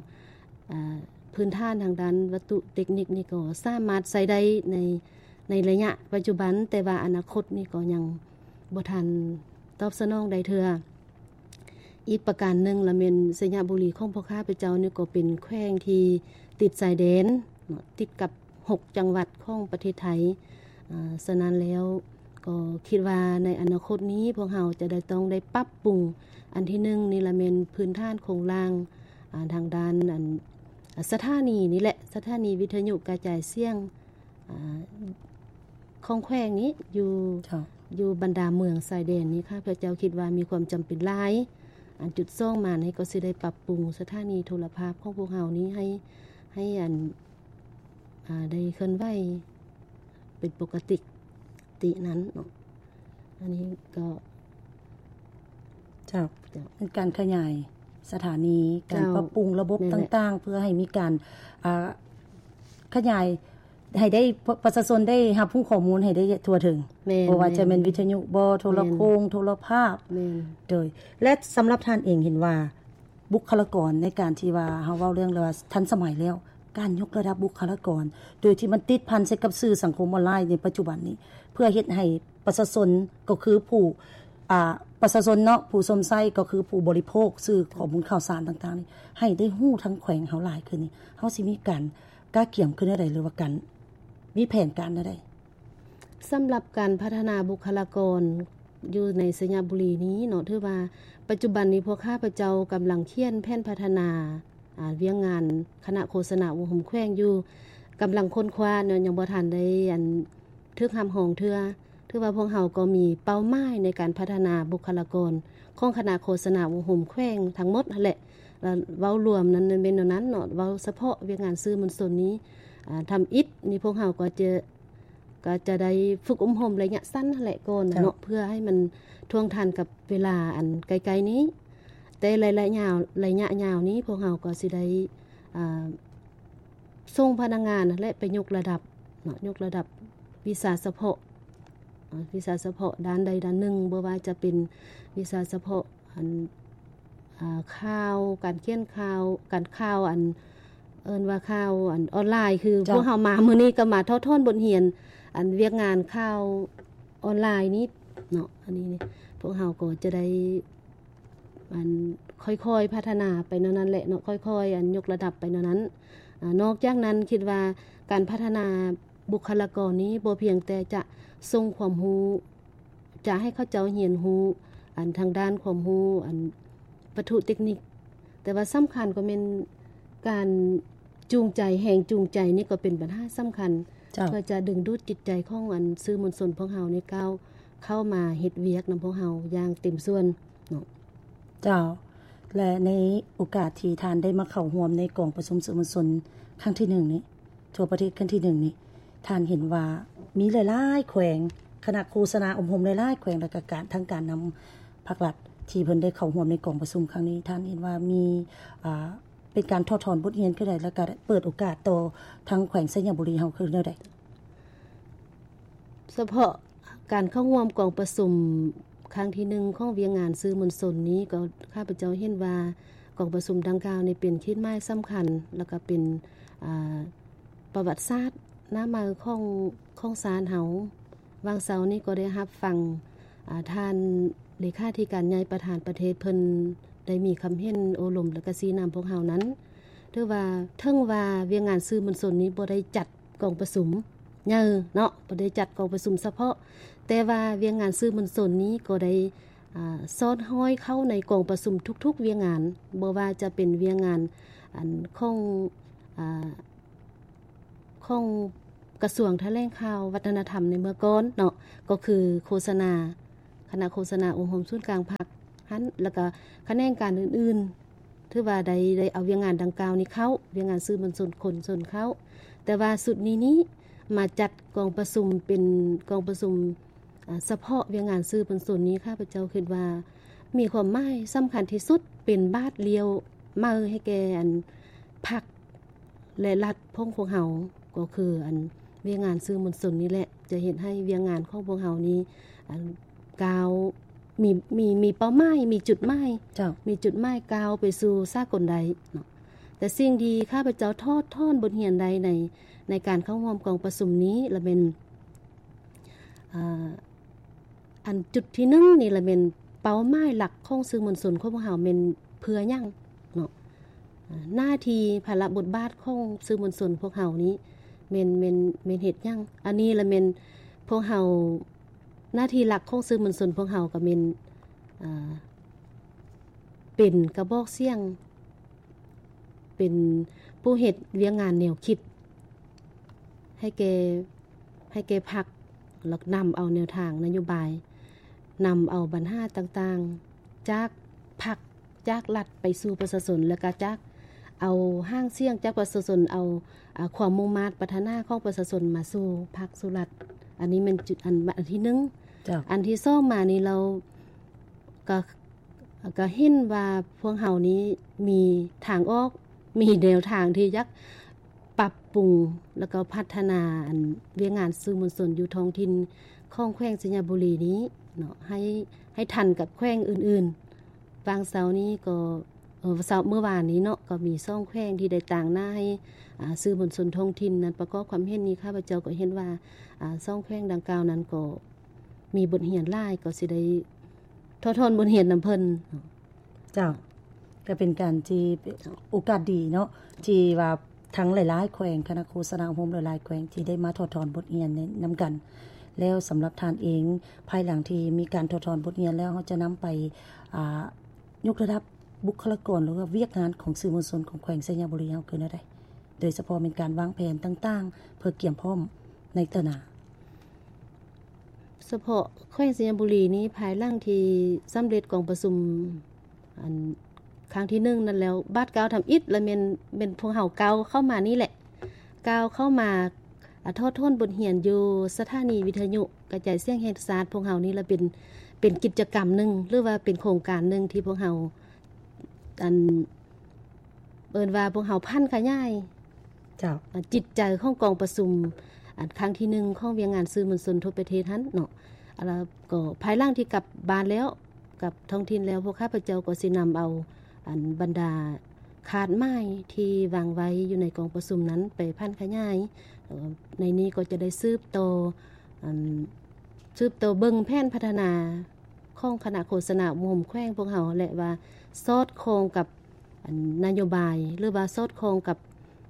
ອາ ພື້ນຖານທາງດ້ານວັດຖຸເຕັກນິກນີ້ກໍສາມາດໃຊ້ໄດ້ໃນ ໃນໄລຍະປັດຈຸບັນ, ແຕ່ວ່າອະນາຄົດນີ້ກໍຍັງບໍ່ທັນຕອບສະໜອງໄດ້ເທື່ອ. ອີກປະການໜຶ່ງລະແມ່ນໄຊຍະບູລີຂອງພວກຂ້າພະເຈົ້ານີ້ກໍເປັນແຂວງທີ່ຕິດຊາຍແດນເນາະ, ຕິດກັບຫົກຈັງຫວັດຂອງປະເທດໄທ. ອາ ສະນັ້ນແລ້ວກໍຄິດວ່າໃນອະນາຄົດນີ້ພວກເຮົາຈະໄດ້ ຕ້ອງໄດ້ປັບປຸງ, ອັນທີໜຶ່ງນີ້ລະແມ່ນພື້ນຖານໂຄງລ່າງ ອາ ທາງດ້ານ ອັນ ອາ ສະຖານີນີ້ແຫຼະ, ສະຖານີວິທະຍຸກະຈາຍສຽງ ອາ ຂອງແຂວງນີ້ຢູ່ ເຈົ້າ ຢູ່ບັນດາເມືອງຊາຍແດນນີ້ ຂ້າພະເຈົ້າຄິດວ່າມີຄວາມຈຳເປັນຫຼາຍ. ອັນຈຸດສອງມານີ້ກໍຊິໄດ້ປັບປຸງສະຖານີໂທລະພາບຂອງພວກເຮົານີ້ໃຫ້ ໃຫ້ອັນ ອາ ໄດ້ເຄື່ອນໄຫວເປັນປົກກະຕິ ຕິນັ້ນເນາະ. ອັນນີ້ກໍ ເຈົ້າ ເຈົ້າ ເປັນການຂະຫຍາຍສະຖານີ, ການ ເຈົ້າ ປັບປຸງລະບົບ ແມ່ນແຫຼະ ຕ່າງໆ ເພື່ອໃຫ້ມີການ ອາ ຂະຫຍາຍ ໃຫ້ໄດ້ ປະຊາຊົນໄດ້ຮັບຮູ້ຂໍ້ມູນໃຫ້ໄດ້ທົ່ວເຖິງ, ແມ່ນ ບໍ່ວ່າຈະແມ່ນ ແມ່ນ ວິທະຍຸບໍ ໂທລະໂຂງ ແມ່ນ ໂທລະພາບ ແມ່ນ ໂດຍ ແລະ ສຳລັບທ່ານເອງເຫັນວ່າບຸກຄະລາກອນໃນການທີ່ວ່າເຮົາເວົ້າເລື່ອງວ່າທັນສະໄໝແລ້ວ, ການຍົກລະດັບບຸກຄະລາກອນ ໂດຍທີ່ມັນຕິດພັນໃສ່ກັບສື່ສັງຄົມອອນລາຍໃນປັດຈຸບັນນີ້ ເພື່ອເຮັດໃຫ້ປະຊາຊົນ ກໍຄືຜູ້ ອາ ປະຊາຊົນເນາະ ຜູ້ຊົມໃຊ້ ກໍຄືຜູ້ບໍລິໂພກສື່ຂໍ້ມູນຂ່າວສານຕ່າງໆນີ້ ໃຫ້ໄດ້ຮູ້ທັງແຂວງເຮົາຫຼາຍຂຶ້ນນີ້ ເຮົາຊິມີການກະກຽມຂຶ້ນແນວໃດ ຫຼືວ່າການ ມີແຜນການແນວໃດ? ສຳລັບການພັດທະນາບຸກຄະລາກອນຢູ່ໃນໄຊຍະບູລີນີ້ເນາະ, ຖືວ່າປັດຈຸບັນນີ້ພວກຂ້າພະເຈົ້າກຳລັງຂຽນແຜນພັດທະນາ ອາ ວຽກງານຄະນະໂຄສະນາອົບຮົມແຂວງຢູ່, ກຳລັງຄົ້ນຄວ້າເນາະ, ຍັງບໍ່ທັນໄດ້ ອັນ ຖືກຮັບຮອງເທື່ອ. ຖືວ່າພວກເຮົາກໍມີເປົ້າໝາຍໃນການພັດທະນາບຸກຄະລາກອນຂອງຄະນະໂຄສະນາອົບຮົມແຂວງທັງໝົດຫັ້ນແຫຼະ. ແລ້ວເວົ້າລວມນັ້ນແມ່ນແນວນັ້ນເນາະ, ເວົ້າສະເພາະວຽກງານສື່ມວນຊົນນີ້ ອາ ທຳອິດນີ້ ພວກເຮົາກໍຈະ ກໍຈະໄດ້ຝຶກອົບຮົມໄລຍະສັ້ນຫັ້ນແຫຼະກ່ອນນະເນາະ, ເຈົ້າ ເພື່ອໃຫ້ມັນທ່ວງທັນກັບເວລາອັນໃກ້ໆນີ້. ແຕ່ໄລຍະຍາວ ໄລຍະຍາວນີ້ ພວກເຮົາກໍຊິໄດ້ ອາ ສົ່ງພະນັກງານຫັ້ນແຫຼະໄປຍົກລະດັບເນາະ, ຍົກລະດັບວິຊາສະເພາະ ອາ ວິຊາສະເພາະດ້ານໃດດ້ານໜຶ່ງ, ບໍ່ວ່າຈະເປັນວິຊາສະເພາະ ອັນ ອາ ຂ່າວ ການຂຽນຂ່າວ ການຂ່າວ ອັນ ເອີ້ນວ່າຂ່າວ ອັນ ອອນລາຍ, ຄື ເຈົ້າ ພວກເຮົາມາມື້ນີ້ກໍມາຖອດຖອນບົດຮຽນ ອັນ ວຽກງານຂ່າວອອນລາຍນີ້ເນາະ. ອັນນີ້ນີ້ ພວກເຮົາກໍຈະໄດ້ ອັນ ຄ່ອຍໆພັດທະນາໄປແນວນັ້ນແຫຼະເນາະ, ຄ່ອຍໆ ອັນ ຍົກລະດັບໄປແນວນັ້ນ. ອາ ນອກຈາກນັ້ນ ຄິດວ່າການພັດທະນາບຸກຄະລາກອນນີ້ ບໍ່ພຽງແຕ່ຈະສົ່ງຄວາມຮູ້ ຈະໃຫ້ເຂົາເຈົ້າຮຽນຮູ້ ອັນ ທາງດ້ານຄວາມຮູ້ ອັນ ວັດຖຸເຕັກນິກ, ແຕ່ວ່າສຳຄັນກໍແມ່ນການຈູງໃຈ, ແຮງຈູງໃຈນີ້ກໍເປັນບັນຫາສຳຄັນ ເຈົ້າ ເພື່ອຈະດຶງດູດຈິດໃຈຂອງ ອັນ ສື່ມວນຊົນພວກເຮົານີ້ ກ້າວເຂົ້າມາເຮັດວຽກນຳພວກເຮົາຢ່າງເຕັມສ່ວນເນາະ. ເຈົ້າ ແລະ ໃນໂອກາດທີ່ທ່ານໄດ້ມາເຂົ້າຮ່ວມໃນກອງປະຊຸມສື່ມວນຊົນຄັ້ງທີໜຶ່ງນີ້ ທົ່ວປະເທດຄັ້ງທີໜຶ່ງນີ້ ທ່ານເຫັນວ່າມີຫຼາຍໆແຂວງ, ຄະນະໂຄສະນາອົບຮົມຫຼາຍໆແຂວງ ແລະ ກະການ ທາງການນຳພາກລັດ ທີ່ເພິ່ນໄດ້ເຂົ້າຮ່ວມໃນກອງປະຊຸມຄັ້ງນີ້, ທ່ານເຫັນວ່າມີ ອ່າ ເປັນການຖອດຖອນບົດຮຽນຄືໃດ ແລະ ກະເປີດໂອກາດຕໍ່ທາງແຂວງໄຊຍະບູລີເຮົາຄືແນວໃດ? ສະເພາະການເຂົ້າຮ່ວມກອງປະຊຸມຄັ້ງທີໜຶ່ງຂອງວຽກງານສື່ມວນຊົນນີ້ ກໍຂ້າພະເຈົ້າເຫັນວ່າກອງປະຊຸມດັ່ງກ່າວນີ້ເປັນຂີດໝາຍສຳຄັນ ແລ້ວກໍເປັນ ອ່າ ປະຫວັດສາດໜ້າໃໝ່ຂອງ ຂອງຊາດເຮົາ. ຫວ່າງເຊົ້ານີ້ກໍໄດ້ຮັບຟັງ ອ່າ ທ່ານເລຂາທິການໃຫຍ່ປະທານປະເທດ ເພິ່ນໄດ້ມີຄຳເຫັນໂອ້ລົມ ແລ້ວກໍຊີ້ນຳພວກເຮົານັ້ນ ຖືວ່າ ເຖິງວ່າວຽກງານສື່ມວນຊົນນີ້ບໍ່ໄດ້ຈັດ ກອງປະຊຸມໃຫຍ່ເນາະ, ບໍ່ໄດ້ຈັດກອງປະຊຸມສະເພາະ, ແຕ່ວ່າວຽກງານສື່ມວນຊົນນີ້ກໍໄດ້ ອ່າ ສອດຫ້ອຍເຂົ້າໃນກອງປະຊຸມທຸກໆວຽກງານ, ບໍ່ວ່າຈະເປັນວຽກງານ ອັນ ຂອງ ອ່າ ຂອງກະຊວງຖະແຫຼງຂ່າວວັດທະນະທຳໃນເມື່ອກ່ອນເນາະ, ກໍຄືໂຄສະນາ ຄະນະໂຄສະນາອົບຮົມສູນກາງພັກຫັ້ນ ແລ້ວກະຂະແໜງການອື່ນໆ ຖືວ່າໄດ້ ໄດ້ເອົາວຽກງານດັ່ງກ່າວນີ້ເຂົ້າ, ວຽກງານສື່ມວນຊົນຄົນຊົນເຂົ້າ. ແຕ່ວ່າຊຸດນີ້ນີ້ມາຈັດກອງປະຊຸມເປັນກອງປະຊຸມ ອາ ສະເພາະວຽກງານສື່ມວນຊົນນີ້ ຂ້າພະເຈົ້າຄິດວ່າມີຄວາມໝາຍສຳຄັນທີ່ສຸດ, ເປັນບາດລ້ຽວໃໝ່ໃຫ້ແກ່ ອັນ ພັກ ແລະ ລັດຂອງພວກເຮົາ ກໍຄື ອັນ ວຽກງານສື່ມວນຊົນນີ້ແຫຼະ ຈະເຮັດໃຫ້ວຽກງານຂອງພວກເຮົານີ້ ອັນ ກ້າວ ມີ ມີ ມີເປົ້າໝາຍ ມີຈຸດໝາຍ ເຈົ້າ ມີຈຸດໝາຍກ້າວໄປສູ່ສາກົນໄດ້ເນາະ. ແຕ່ສິ່ງທີ່ຂ້າພະເຈົ້າຖອດຖອນບົດຮຽນໄດ້ໃນ ໃນການເຂົ້າຮ່ວມກອງປະຊຸມນີ້ລະແມ່ນ ອ່າ ອັນຈຸດທີໜຶ່ງນີ້ລະແມ່ນເປົ້າໝາຍຫຼັກຂອງສື່ມວນຊົນຂອງພວກເຮົາແມ່ນເພື່ອຫຍັງເນາະ? ໜ້າທີ່ພາລະບົດບາດຂອງສື່ມວນຊົນພວກເຮົານີ້ແມ່ນ ແມ່ນ ແມ່ນເຮັດຫຍັງ? ອັນນີ້ລະແມ່ນພວກເຮົາ ໜ້າທີ່ຫຼັກຂອງສື່ມວນຊົນພວກເຮົາກໍແມ່ນ ອ່າ ເປັນກະບອກສຽງ ເປັນຜູ້ເຮັດວຽກງານແນວຄິດໃຫ້ແກ່ ໃຫ້ແກ່ພັກ ແລ້ວນຳເອົາແນວທາງນະໂຍບາຍ ນຳເອົາບັນຫາຕ່າງໆ ຈາກພັກ ຈາກລັດໄປສູ່ປະຊາຊົນ ແລ້ວກະຈາກເອົາຫາງສຽງຈາກປະຊາຊົນ ເອົາ ອາ ຄວາມມຸ່ງມາດປາດຖະໜາຂອງປະຊາຊົນມາສູ່ພັກສູ່ລັດ. ອັນນີ້ແມ່ນຈຸດ ອັນ ອັນທີໜຶ່ງ. ເຈົ້າ. ອັນທີສອງມານີ້ ລາວກະ ກະເຫັນວ່າພວກເຮົານີ້ມີທາງອອກ ມີແນວທາງທີ່ຢາກປັບປຸງ ແລ້ວກໍພັດທະນາ ອັນ ວຽກງານສື່ມວນຊົນຢູ່ທ້ອງຖິ່ນຂອງແຂວງໄຊຍະບູລີນີ້ເນາະ ໃຫ້ ໃຫ້ທັນກັບແຂວງອື່ນໆ. ຫວ່າງເຊົ້ານີ້ກໍ ເອີ ເຊົ້າ ມື້ວານນີ້ເນາະ ກໍມີສອງແຂວງທີ່ໄດ້ຕາງໜ້າໃຫ້ ອາ ສື່ມວນຊົນທ້ອງຖິ່ນນັ້ນປະກອບຄວາມເຫັນນີ້ ຂ້າພະເຈົ້າກໍເຫັນວ່າ ອາ ສອງແຂວງດັ່ງກ່າວນັ້ນກໍມີບົດຮຽນຫຼາຍ ກໍຊິໄດ້ຖອດຖອນບົດຮຽນນຳເພິ່ນ. ເຈົ້າ ກໍເປັນການທີ່ ເຈົ້າ ໂອກາດດີເນາະ ທີ່ວ່າທັງຫຼາຍໆແຂວງ ຄະນະໂຄສະນາອົບຮົມຫຼາຍໆແຂວງທີ່ໄດ້ມາຖອດຖອນບົດຮຽນໃນ ນຳກັນ. ແລ້ວສຳລັບທ່ານເອງ ພາຍຫຼັງທີ່ມີການຖອດຖອນບົດຮຽນແລ້ວ ເຮົາຈະນຳໄປ ອ່າ ຍົກລະດັບບຸກຄະລາກອນ ຫຼືວ່າວຽກງານຂອງສື່ມວນຊົນຂອງແຂວງໄຊຍະບູລີເຮົາຄືແນວໃດ? ໂດຍສະເພາະແມ່ນການວາງແຜນຕ່າງໆ ເພື່ອກຽມພ້ອມໃນເທື່ອໜ້າ. ສະເພາະແຂວງໄຊຍະບູລີນີ້ ພາຍຫຼັງທີ່ສຳເລັດກອງປະຊຸມ ອັນ ຄັ້ງທີໜຶ່ງນັ້ນແລ້ວ ບາດກ້າວທຳອິດລະແມ່ນ ແມ່ນພວກເຮົາກ້າວເຂົ້າມານີ້ແຫຼະ ກ້າວເຂົ້າມາ ອາ ຖອດຖອນບົດຮຽນຢູ່ສະຖານີວິທະຍຸກະຈາຍສຽງແຫ່ງຊາດພວກເຮົານີ້ລະ ເປັນ ເປັນກິດຈະກຳໜຶ່ງ ຫຼືວ່າເປັນໂຄງການໜຶ່ງທີ່ພວກເຮົາ ອັນ ເອີ້ນວ່າພວກເຮົາຜັນຂະຫຍາຍ ເຈົ້າ ອາ ຈິດໃຈຂອງກອງປະຊຸມ ອັນ ຄັ້ງທີໜຶ່ງຂອງວຽກງານສື່ມວນຊົນທົ່ວປະເທດຫັ້ນເນາະ. ແລ້ວກໍພາຍຫຼັງທີ່ກັບບ້ານແລ້ວ ກັບທ້ອງຖິ່ນແລ້ວ ພວກຂ້າພະເຈົ້າກໍຊິນຳເອົາ ອັນ ບັນດາຄາດໝາຍທີ່ວາງໄວ້ຢູ່ໃນກອງປະຊຸມນັ້ນໄປຜັນຂະຫຍາຍ. ເອີ ໃນນີ້ກໍຈະໄດ້ສືບຕໍ່ ອັນ ສືບຕໍ່ເບິ່ງແຜນພັດທະນາ ຂອງຄະນະໂຄສະນາອົບຮົມແຂວງພວກເຮົາ ແລະ ວ່າສອດຄ່ອງກັບ ອັນ ນະໂຍບາຍ ຫຼືວ່າສອດຄ່ອງກັບ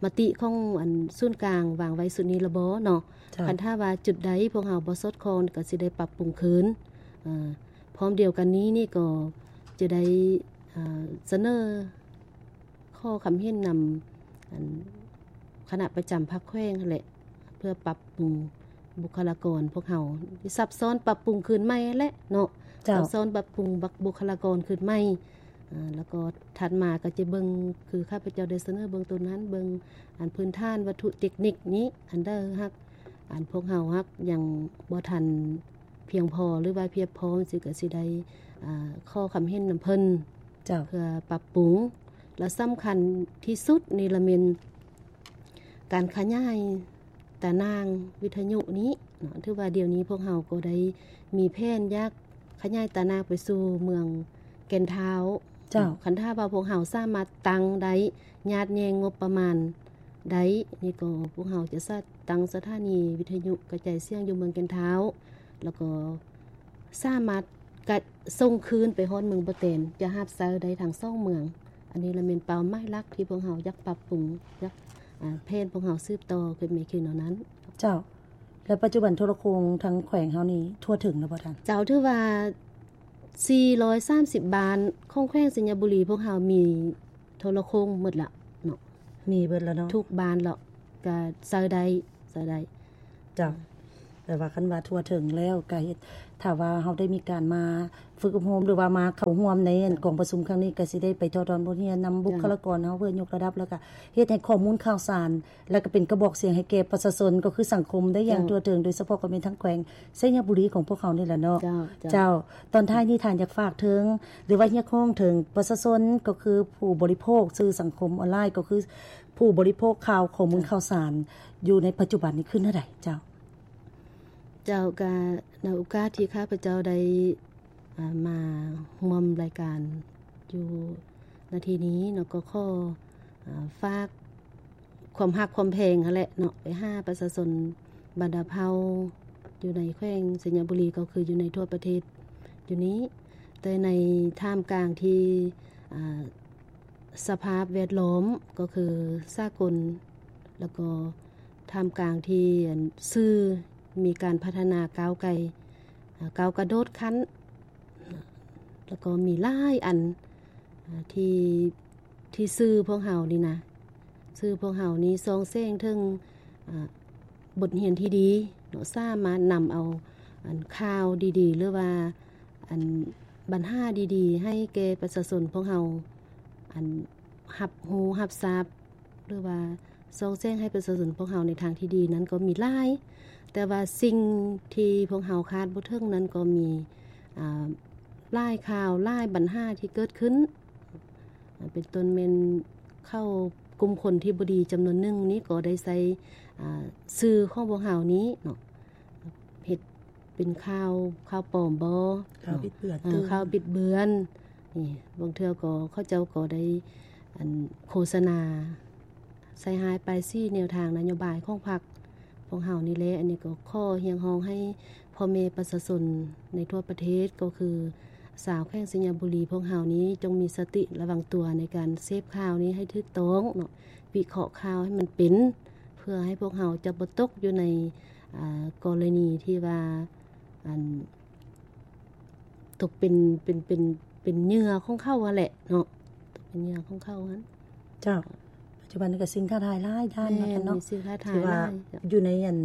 ມະຕິຂອງ ອັນ ສູນກາງວາງໄວ້ຊຸດນີ້ລະບໍເນາະ. ເຈົ້າ. ຄັນຖ້າວ່າຈຸດໃດພວກເຮົາບໍ່ສອດຄ່ອງ ກໍຊິໄດ້ປັບປຸງຄືນ. ເອີ ພ້ອມດຽວກັນນີ້ນີ້ກໍຈະໄດ້ ເອີ ສະເໜີ ຂໍຄຳເຫັນນຳ ອັນ ຄະນະປະຈຳພັກແຂວງຫັ້ນແຫຼະ ເພື່ອປັບປຸງບຸກຄະລາກອນພວກເຮົາ ຊັບຊ້ອນປັບປຸງຄືນໃໝ່ຫັ້ນແຫຼະເນາະ. ເຈົ້າ. ຊັບຊ້ອນປັບປຸງບຸກຄະລາກອນຄືນໃໝ່ ອາ ແລ້ວກໍຖັດມາກໍຈະເບິ່ງ ຄືຂ້າພະເຈົ້າໄດ້ສະເໜີເບື້ອງຕົ້ນຫັ້ນ ເບິ່ງອັນພື້ນຖານວັດຖຸເຕັກນິກນີ້ ອັນໃດຫາກ ອັນພວກເຮົາຫາກຍັງບໍ່ທັນພຽງພໍ ຫຼືວ່າພຽບພ້ອມ ຊິກໍຊິໄດ້ ອາ ຂໍຄຳເຫັນນຳເພິ່ນ. ເຈົ້າ. ເພື່ອປັບປຸງ ແລະ ສຳຄັນທີ່ສຸດນີ້ລະແມ່ນການຂະຫຍາຍຕາໜ່າງວິທະຍຸນີ້ເນາະ. ຖືວ່າດຽວນີ້ພວກເຮົາກໍໄດ້ມີແຜນຢາກຂະຫຍາຍຕາໜ່າງໄປສູ່ເມືອງແກ່ນທ້າວ. ເຈົ້າ. ຄັນຖ້າວ່າພວກເຮົາສາມາດຕັ້ງໄດ້ ຍາດແຍ່ງງົບປະມານໄດ້ ນີ້ກໍພວກເຮົາຈະສະ ຕັ້ງສະຖານີວິທະຍຸກະຈາຍສຽງຢູ່ເມືອງແກ່ນທ້າວ ແລ້ວກໍສາມາດກະສົ່ງຄືນໄປຮອດເມືອງບໍ່ແຕນ ຈະຮັບໃຊ້ໄດ້ທັງສອງເມືອງ. ອັນນີ້ລະແມ່ນເປົ້າໝາຍຫຼັກທີ່ພວກເຮົາຢາກປັບປຸງ ຢາກ ອາ ແຜນພວກເຮົາສືບຕໍ່ຂຶ້ນໄປຄືແນວນັ້ນ. ເຈົ້າ. ແລະ ປັດຈຸບັນໂທລະໂຄ່ງທາງແຂວງເຮົານີ້ທົ່ວເຖິງແລ້ວບໍ່ທ່ານ? ເຈົ້າ. ຖືວ່າສີ່ຮ້ອຍສາມສິບບ້ານຂອງແຂວງໄຊຍະບູລີ ພວກເຮົາມີໂທລະໂຄ່ງໝົດລະເນາະ. ມີເບິດແລ້ວເນາະ. ທຸກບ້ານລະ ກະໃຊ້ໄດ້ ໃຊ້ໄດ້. ເຈົ້າ. ແປວ່າຄັນວ່າທົ່ວເຖິງແລ້ວກະເຮັດ ຖ້າວ່າເຮົາໄດ້ມີການມາຝຶກອົບຮົມ ຫຼືວ່າມາເຂົ້າຮ່ວມໃນອັນກອງປະຊຸມຄັ້ງນີ້ ກະຊິໄດ້ໄປຖອດຖອນບົດຮຽນນຳບຸກຄະລາກອນເຮົາ ເພື່ອຍົກລະດັບ ແລ້ວກະເຮັດໃຫ້ຂໍ້ມູນຂ່າວສານ ແລ້ວກະເປັນກະບອກສຽງໃຫ້ແກ່ປະຊາຊົນ ກໍຄືສັງຄົມໄດ້ຢ່າງທົ່ວເຖິງ ໂດຍສະເພາະກໍແມ່ນທາງແຂວງໄຊຍະບູລີຂອງພວກເຮົານີ້ແຫຼະເນາະ. ເຈົ້າ. ເຈົ້າ. ຕອນທ້າຍນີ້ທ່ານຢາກຝາກເຖິງ ຫຼືວ່າຮຽກຮ້ອງເຖິງປະຊາຊົນ ກໍຄືຜູ້ບໍລິໂພກສື່ສັງຄົມອອນລາຍ ກໍຄື ຜູ້ບໍລິໂພກຂ່າວ ຂໍ້ມູນຂ່າວສານຢູ່ໃນປັດຈຸບັນນີ້ຄືແນວໃດເຈົ້າ? ເຈົ້າ. ກະໃນໂອກາດທີ່ຂ້າພະເຈົ້າໄດ້ ອາ ມາຮ່ວມລາຍການຢູ່ນາທີນີ້ເນາະ ກໍຂໍ ອາ ຝາກຄວາມຮັກຄວາມແພງຫັ້ນແຫຼະເນາະ ໄປຫາປະຊາຊົນບັນດາເຜົ່າຢູ່ໃນແຂວງໄຊຍະບູລີ ກໍຄືຢູ່ໃນທົ່ວປະເທດຢູ່ນີ້ ແຕ່ໃນທ່າມກາງທີ່ ອາ ສະພາບແວດລ້ອມກໍຄືສາກົນ ແລ້ວກໍທ່າມກາງທີ່ ອັນ ສື່ມີການພັດທະນາກ້າວໄກ ອາ ກ້າວກະໂດດຂັ້ນ ແລ້ວກໍມີຫຼາຍອັນ ອາ ທີ່ ທີ່ສື່ພວກເຮົານີ້ນະ ສື່ພວກເຮົານີ້ສ່ອງແສງເຖິງ ອາ ບົດຮຽນທີ່ດີເນາະ ສາມາດນຳເອົາ ອັນ ຂ່າວດີໆ ຫຼືວ່າ ອັນ ບັນຫາດີໆ ໃຫ້ແກ່ປະຊາຊົນພວກເຮົາ ອັນ ຮັບຮູ້ຮັບຊາບ ຫຼືວ່າສ່ອງແສງໃຫ້ປະຊາຊົນພວກເຮົາໃນທາງທີ່ດີນັ້ນກໍມີຫຼາຍ, ແຕ່ວ່າສິ່ງທີ່ພວກເຮົາຄາດບໍ່ເຖິງນັ້ນກໍມີ ອາ ຫຼາຍຂ່າວ ຫຼາຍບັນຫາທີ່ເກີດຂຶ້ນ ອາ ເປັນຕົ້ນແມ່ນເຂົາ ກຸ່ມຄົນທີ່ບໍ່ດີຈຳນວນໜຶ່ງນີ້ກໍໄດ້ໃຊ້ ອາ ສື່ຂອງພວກເຮົານີ້ເນາະ ເຮັດເປັນຂ່າວ ຂ່າວປອມບໍ ຂ່າວບິດເບືອນ ເອີ ຂ່າວບິດເບືອນນີ້ ບາງເທື່ອກໍເຂົາເຈົ້າກໍໄດ້ ອັນ ໂຄສະນາໃສ່ຮ້າຍປ້າຍສີແນວທາງນະໂຍບາຍຂອງພັກພວກເຮົານີ້ແຫຼະ. ອັນນີ້ກໍຂໍຮຽກຮ້ອງໃຫ້ພໍ່ແມ່ປະຊາຊົນໃນທົ່ວປະເທດ ກໍຄືຊາວແຂວງໄຊຍະບູລີພວກເຮົານີ້ ຈົ່ງມີສະຕິລະວັງຕົວໃນການເສບຂ່າວນີ້ໃຫ້ຖືກຕ້ອງເນາະ ວິເຄາະຂ່າວໃຫ້ມັນເປັນ ເພື່ອໃຫ້ພວກເຮົາຈະບໍ່ຕົກຢູ່ໃນ ອາ ກໍລະນີທີ່ວ່າ ອັນ ຕົກເປັນ ເປັນ ເປັນ ເປັນເຫຍື່ອຂອງເຂົາຫັ້ນແຫຼະເນາະ ຕົກເປັນເຫຍື່ອຂອງເຂົາຫັ້ນ. ເຈົ້າ ປັດຈຸບັນນີ້ກໍສິ່ງທ້າທາຍຫຼາຍດ້ານເນາະ ແມ່ນ ເນາະ ມີສິ່ງທ້າທາຍ ທີ່ວ່າ ຫຼາຍ ຢູ່ໃນ ອັນ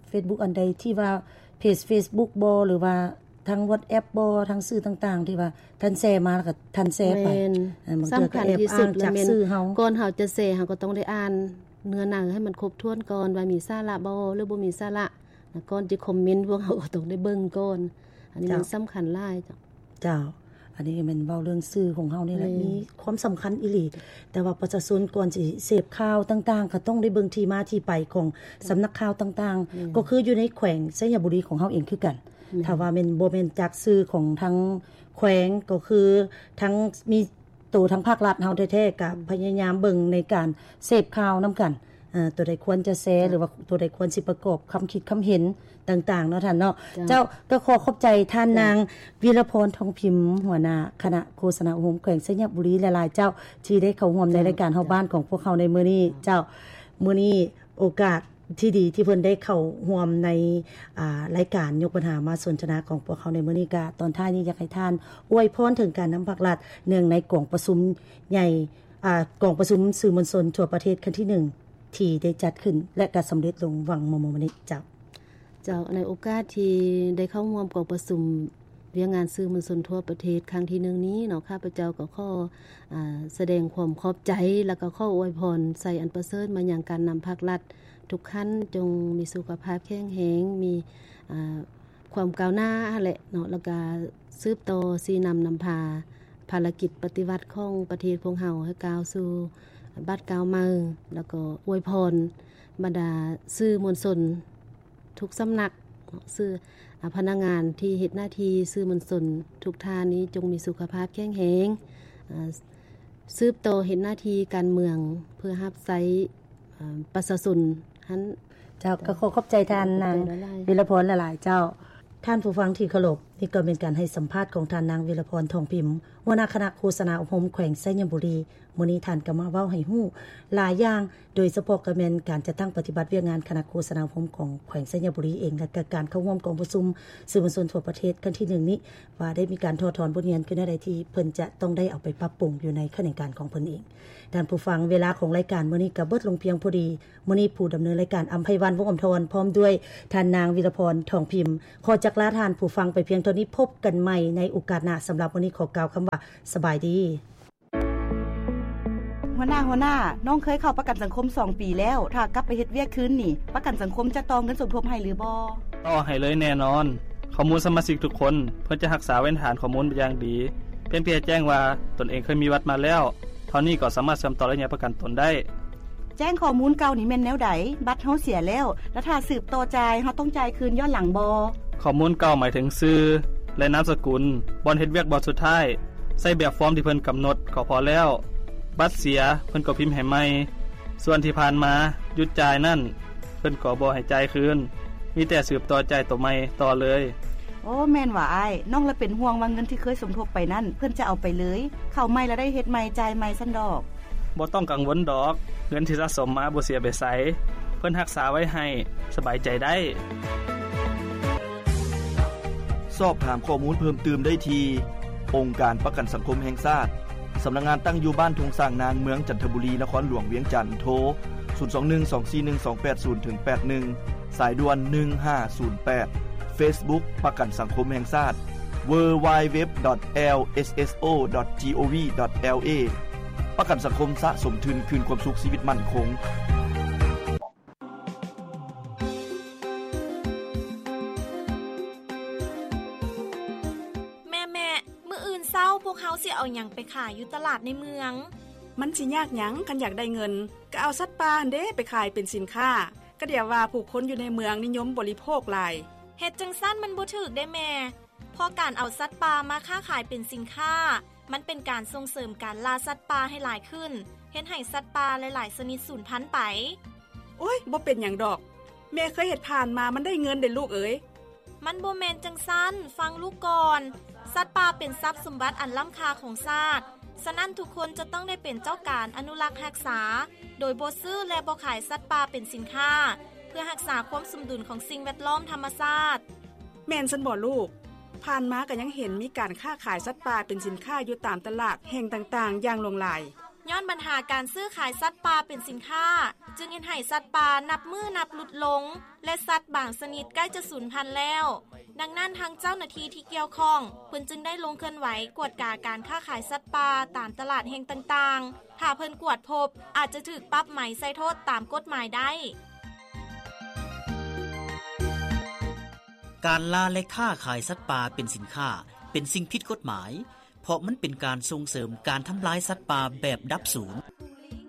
ເຟສບຸກ ອັນໃດທີ່ວ່າເພຈເຟສບຸກບໍ ຫຼືວ່າທາງວັອດແອັບບໍ ທາງສື່ຕ່າງໆ ທີ່ວ່າທ່ານແຊມາ ແລ້ວກໍທ່ານແຊໄປ ແມ່ນ ອັນ ສຳຄັນທີ່ສຸດລະແມ່ນ ກ່ອນເຮົາຈະແຊ ເຮົາກໍຕ້ອງໄດ້ອ່ານເນື້ອໃນໃຫ້ມັນຄົບຖ້ວນກ່ອນ ວ່າມີສາລະບໍ ຫຼືບໍ່ມີສາລະ ແລ້ວກ່ອນຈະຄອມເມັນ ພວກເຮົາກໍຕ້ອງໄດ້ເບິ່ງກ່ອນ. ອັນນີ້ມັນ ເຈົ້າ ສຳຄັນຫຼາຍ. ເຈົ້າ ເຈົ້າ ອັນນີ້ແມ່ນເວົ້າເລື່ອງສື່ຂອງເຮົານີ້ແຫຼະ ແມ່ນ ມີຄວາມສຳຄັນອີ່ຫຼີ ແຕ່ວ່າປະຊາຊົນກ່ອນຊິເສບຂ່າວຕ່າງໆ ກໍຕ້ອງໄດ້ເບິ່ງທີ່ມາທີ່ໄປຂອງ ເຈົ້າ ສຳນັກຂ່າວຕ່າງໆ ແມ່ນ ກໍຄືຢູ່ໃນແຂວງໄຊຍະບູລີຂອງເຮົາເອງຄືກັນ. ແມ່ນ ຖ້າວ່າແມ່ນ ບໍ່ແມ່ນຈາກສື່ຂອງທາງແຂວງ ກໍຄືທາງ ມີ ໂຕທາງພາກລັດເຮົາແທ້ໆ ກໍ ອືມ ພະຍາຍາມເບິ່ງໃນການເສບຂ່າວນຳກັນ ເອີ ຕົວໃດຄວນຈະແຊ ເຈົ້າ ຫຼືວ່າຕົວໃດຄວນຊິປະກອບຄຳຄິດຄຳເຫັນຕ່າງໆເນາະທ່ານເນາະ. ເຈົ້າ ເຈົ້າ ກໍຂໍຂອບໃຈທ່ານ ເຈົ້າ ນາງ ວິລະພອນ ທອງພິມ ຫົວໜ້າຄະນະໂຄສະນາອົບຮົມແຂວງໄຊຍະບູລີຫຼາຍໆ ເຈົ້າ ທີ່ໄດ້ເຂົ້າຮ່ວມໃນ ເຈົ້າ ລາຍການເຮົາ ເຈົ້າ ບ້ານຂອງພວກເຮົາໃນມື້ນີ້. ເຈົ້າ ເຈົ້າ ມື້ນີ້ໂອກາດທີ່ດີທີ່ເພິ່ນໄດ້ເຂົ້າຮ່ວມໃນ ອ່າ ລາຍການຍົກບັນຫາມາສົນທະນາຂອງພວກເຮົາໃນມື້ນີ້. ກະຕອນທ້າຍນີ້ຢາກໃຫ້ທ່ານອວຍພອນເຖິງການນຳພາກລັດ ເນື່ອງໃນກອງປະຊຸມໃຫຍ່ ອ່າ ກອງປະຊຸມສື່ມວນຊົນທົ່ວປະເທດຄັ້ງທີໜຶ່ງ ທີ່ໄດ້ຈັດຂຶ້ນ ແລະ ກໍສຳເລັດລົງຫວ່າງມໍ່ໆມານີ້. ເຈົ້າ ເຈົ້າ ໃນໂອກາດທີ່ໄດ້ເຂົ້າຮ່ວມກອງປະຊຸມວຽກງານສື່ມວນຊົນທົ່ວປະເທດຄັ້ງທີໜຶ່ງນີ້ເນາະ, ຂ້າພະເຈົ້າກໍຂໍ ອ່າ ສະແດງຄວາມຂອບໃຈ ແລ້ວກໍຂໍອວຍພອນໄຊອັນປະເສີດມາຍັງການນຳພາກລັດທຸກຂັ້ນ, ຈົ່ງມີສຸຂະພາບແຂງແຮງ, ມີ ອ່າ ຄວາມກ້າວໜ້າຫັ້ນແຫຼະເນາະ, ແລ້ວກະສືບຕໍ່ຊີ້ນຳນຳພາພາລະກິດປະຕິວັດຂອງປະເທດພວກເຮົາໃຫ້ກ້າວສູ່ບາດກ້າວໃໝ່, ແລ້ວກໍອວຍພອນບັນດາສື່ມວນຊົນທຸກສຳນັກເນາະ, ສື່ ອາ ພະນັກງານທີ່ເຮັດໜ້າທີ່ສື່ມວນຊົນທຸກທ່ານນີ້ ຈົ່ງມີສຸຂະພາບແຂງແຮງ, ອາ ສືບຕໍ່ເຮັດໜ້າທີ່ການເມືອງເພື່ອຮັບໃຊ້ ອາ ປະຊາຊົນຫັ້ນ. ເຈົ້າ ເຈົ້າ ກໍຂໍຂອບໃຈທ່ານນາງ ເຈົ້າ ຂອບໃຈຫຼາຍໆ ວິລະພອນຫຼາຍໆ ເຈົ້າ. ທ່ານຜູ້ຟັງທີ່ເຄົາລົບ, ນີ້ກໍແມ່ນການໃຫ້ສຳພາດຂອງທ່ານນາງ ວິລະພອນ ທອງພິມ ຫົວໜ້າຄະນະໂຄສະນາອົບຮົມແຂວງໄຊຍະບູລີ. ມື້ນີ້ທ່ານກໍມາເວົ້າໃຫ້ຮູ້ຫຼາຍຢ່າງ, ໂດຍສະເພາະກໍແມ່ນການຈັດຕັ້ງປະຕິບັດວຽກງານຄະນະໂຄສະນາອົບຮົມຂອງແຂວງໄຊຍະບູລີເອງ ແລະ ກະການເຂົ້າຮ່ວມກອງປະຊຸມສື່ມວນຊົນທົ່ວປະເທດຄັ້ງທີໜຶ່ງນີ້ ວ່າໄດ້ມີການຖອດຖອນບົດຮຽນຄືແນວໃດທີ່ເພິ່ນຈະຕ້ອງໄດ້ເອົາໄປປັບປຸງຢູ່ໃນຂະແໜງການຂອງເພິ່ນເອງ. ທ່ານຜູ້ຟັງ, ເວລາຂອງລາຍການມື້ນີ້ກໍເບິດລົງພຽງພໍດີ. ມື້ນີ້ຜູ້ດຳເນີນລາຍການ ອຳໄພວັນ ວົງອຳທອນ ພ້ອມດ້ວຍທ່ານນາງ ວິລະພອນ ທອງພິມ ຂໍຈັກລາທ່ານຜູ້ຟັງໄປພຽງເທົ່ານີ້. ພົບກັນໃໝ່ໃນໂອກາດໜ້າ. ສຳລັບມື້ນີ້ຂໍກ່າວຄຳວ່າ ສະບາຍດີ. ຫົວໜ້າ, ຫົວໜ້າ, ນ້ອງເຄີຍເຂົ້າປະກັນສັງຄົມສອງປີແລ້ວ. ຖ້າກັບໄປເຮັດວຽກຄືນນີ້, ປະກັນສັງຄົມຈະຕໍ່ເງິນສົມທົບໃຫ້ຫຼືບໍ່? ຕໍ່ໃຫ້ເລີຍແນ່ນອນ. ຂໍ້ມູນສະມາຊິກທຸກຄົນ ເພິ່ນຈະຮັກສາໄວ້ໃນຖານຂໍ້ມູນຢ່າງດີ. ພຽງແຕ່ແຈ້ງວ່າຕົນເອງເຄີຍມີບັດມາແລ້ວ ເທົ່ານີ້ກໍສາມາດເຊື່ອມຕໍ່ໄລຍະປະກັນຕົນໄດ້. ແຈ້ງຂໍ້ມູນເກົ່ານີ້ແມ່ນແນວໃດ? ບັດເຮົາເສຍແລ້ວ, ແລ້ວຖ້າສືບຕໍ່ຈ່າຍ, ເຮົາຕ້ອງຈ່າຍຄືນຍ້ອນຫຼັງບໍ່? ຂໍ້ມູນເກົ່າໝາຍເຖິງຊື່ ແລະ ນາມສະກຸນ, ບ່ອນເຮັດວຽກບ່ອນສຸດທ້າຍ. ໃຊ້ແບບຟອມທີ່ເພິ່ນກຳນົດກໍພໍແລ້ວ. ບັດເສຍ, ເພິ່ນກໍພິມໃຫ້ໃໝ່. ສ່ວນທີ່ຜ່ານມາຢຸດຈ່າຍນັ້ນ, ເພິ່ນກໍບໍ່ໃຫ້ຈ່າຍຄືນ, ມີແຕ່ສືບຕໍ່ຈ່າຍໂຕໃໝ່ຕໍ່ເລີຍ. ໂອ້, ແມ່ນຫວາອ້າຍ. ນ້ອງລະເປັນຫ່ວງວ່າເງິນທີ່ເຄີຍສົມທົບໄປນັ້ນ ເພິ່ນຈະເອົາໄປເລີຍ, ເຂົ້າໃໝ່ລະໄດ້ເຮັດໃໝ່, ຈ່າຍໃໝ່ຊັ້ນດອກ. ບໍ່ຕ້ອງກັງວົນດອກ, ເງິນທີ່ສະສົມມາບໍ່ເສຍໄປໃສ, ເພິ່ນຮັກສາໄວ້ໃຫ້, ສະບາຍໃຈໄດ້. ສອບຖາມຂໍ້ມູນເພີ່ມຕື່ມໄດ້ທີ່ ອົງການປະກັນສັງຄົມແຫ່ງຊາດ, ສຳນັກງານຕັ້ງຢູ່ບ້ານທົ່ງຊ້າງນາງ, ເມືອງຈັນທະບູລີ, ນະຄອນຫຼວງວຽງຈັນ. ໂທ ສູນສອງໜຶ່ງ ສອງສີ່ໜຶ່ງ ສອງແປດສູນ ເຖິງ ແປດໜຶ່ງ, ສາຍດ່ວນ ໜຶ່ງຫ້າສູນແປດ. ເຟສບຸກ ປະກັນສັງຄົມແຫ່ງຊາດ ເວີ ວາຍ ເວັບ ດອດ ແອລ ເອສ ເອສ ໂອ ດອດ ຈີ ໂອ ວີ ດອດ ແອລ ເອ. ປະກັນສັງຄົມສະສົມທຶນຄືນຄວາມສຸກຊີວິດໝັ້ນຄົງ. ແມ່ໆ ມື້ອື່ນເຊົ້າພວກເຮົາຊິເອົາຫຍັງໄປຂາຍຢູ່ຕະຫຼາດໃນເມືອງ? ມັນຊິຍາກຫຍັງ ຄັນຢາກໄດ້ເງິນ ກໍເອົາສັດປ່າຫັ້ນເດໄປຂາຍເປັນສິນຄ້າ. ກະດຽວວ່າຜູ້ຄົນຢູ່ໃນເມືອງນິຍົມບໍລິໂພກຫຼາຍ. ເຮັດຈັ່ງຊັ້ນມັນບໍ່ຖືກເດ້ແມ່. ເພາະການເອົາສັດປ່າມາຄ້າຂາຍເປັນສິນຄ້າ ມັນເປັນການສົ່ງເສີມການລ່າສັດປ່າໃຫ້ຫຼາຍຂຶ້ນ, ເຮັດໃຫ້ສັດປ່າຫຼາຍໆຊະນິດສູນພັນໄປ. ໂອ້ຍ, ບໍ່ເປັນຫຍັງດອກ. ແມ່ເຄີຍເຮັດຜ່ານມາ, ມັນໄດ້ເງິນເດ້ລູກເອີຍ. ມັນບໍ່ແມ່ນຈັ່ງຊັ້ນ, ຟັງລູກກ່ອນ. ສັດປ່າເປັນຊັບສົມບັດອັນລ້ຳຄ່າຂອງຊາດ, ສະນັ້ນທຸກຄົນຈະຕ້ອງໄດ້ເປັນເຈົ້າການອະນຸລັກຮັກສາ, ໂດຍບໍ່ຊື້ ແລະ ບໍ່ຂາຍສັດປ່າເປັນສິນຄ້າ, ເພື່ອຮັກສາຄວາມສົມດຸນຂອງສິ່ງແວດລ້ອມທຳມະຊາດ. ແມ່ນຊັ້ນບໍລູກ? ຜ່ານມາກໍຍັງເຫັນມີການຄ້າຂາຍສັດປ່າເປັນສິນຄ້າຢູ່ຕາມຕະຫຼາດແຫ່ງຕ່າງໆຢ່າງຫຼວງຫຼາຍ. ຍ້ອນບັນຫາການຊື້ຂາຍສັດປ່າເປັນສິນຄ້າ ຈຶ່ງເຮັດໃຫ້ສັດປ່ານັບມື້ນັບຫຼຸດລົງ ແລະ ສັດບາງຊະນິດໃກ້ຈະສູນພັນແລ້ວ. ດັ່ງນັ້ນ ທາງເຈົ້າໜ້າທີ່ທີ່ກ່ຽວຂ້ອງ ເພິ່ນຈຶ່ງໄດ້ລົງເຄື່ອນໄຫວກວດກາການຄ້າຂາຍສັດປ່າຕາມຕະຫຼາດແຫ່ງຕ່າງໆ. ຖ້າເພິ່ນກວດພົບ ອາດຈະຖືກປັບໃໝໃສ່ໂທດຕາມກົດໝາຍໄດ້. ການລ່າ ແລະ ຄ້າຂາຍສັດປ່າເປັນສິນຄ້າ ເປັນສິ່ງຜິດກົດໝາຍ ເພາະມັນເປັນການສົ່ງເສີມການທຳລາຍສັດປ່າແບບດັບສູນ.